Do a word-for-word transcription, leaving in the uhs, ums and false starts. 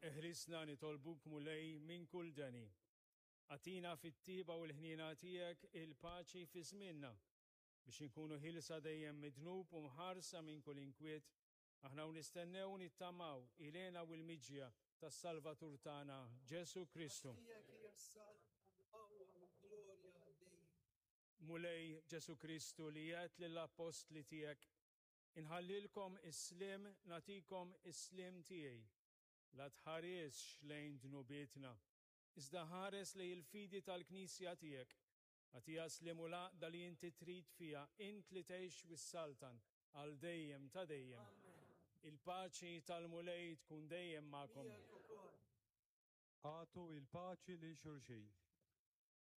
Eħlisna nitolbuk Mulej minn kull deni. Agħtina fit-tjieba u l-ħniena tiegħek il-paċi fi żmienna biex inkunu ħielsa dejjem mid-dnub u mħarsa minn kull inkwiet, aħna u nistennew u nittamaw il-hena u l-miġja tas-Salvatur tagħna Ġesu Kristu. Tiegħek hija s-saltna, l-qawwa u l-glorja għal dejjem. Mulej Ġesu Kristu li għedt lill-appostli tiegħek, inħallilkom is-sliem nagħtikom is-sliem tiegħi. La tħaresx lejn dnubietna, iżda ħares lejn il-fidi tal-Knisja tiegħek. Agħtiha s-sliem u l-għaqda li inti trid fiha, int li tgħix u ssaltan għal dejjem ta' dejjem. Il-paċi tal-Mulej tkun dejjem magħkom. Miegħek ukoll. Agħtu il-paċi lil xulxin.